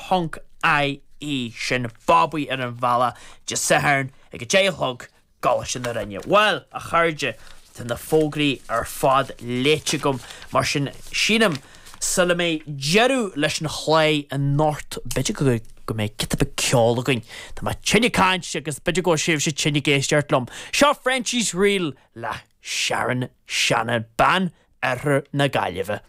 Ponc IE. Sin Bobby ar an bhealach Dé Sathairn ag a 10 a chlog gColáiste na Rinne. Bhuel, a chairde, tá na fógraí ar fad léite agam, mar sin sílim sula mbeidh deireadh leis an chlár anocht, b'fhéidir go go mbeidh giota beag ceoil againn. Tá mé tinn ag caint agus b'fhéidir go bhfuil sibhse tinn ag éisteacht liom. Seo Frenchie's Reel le Sharon Shannon, bean Oirthear na Gaillimhe.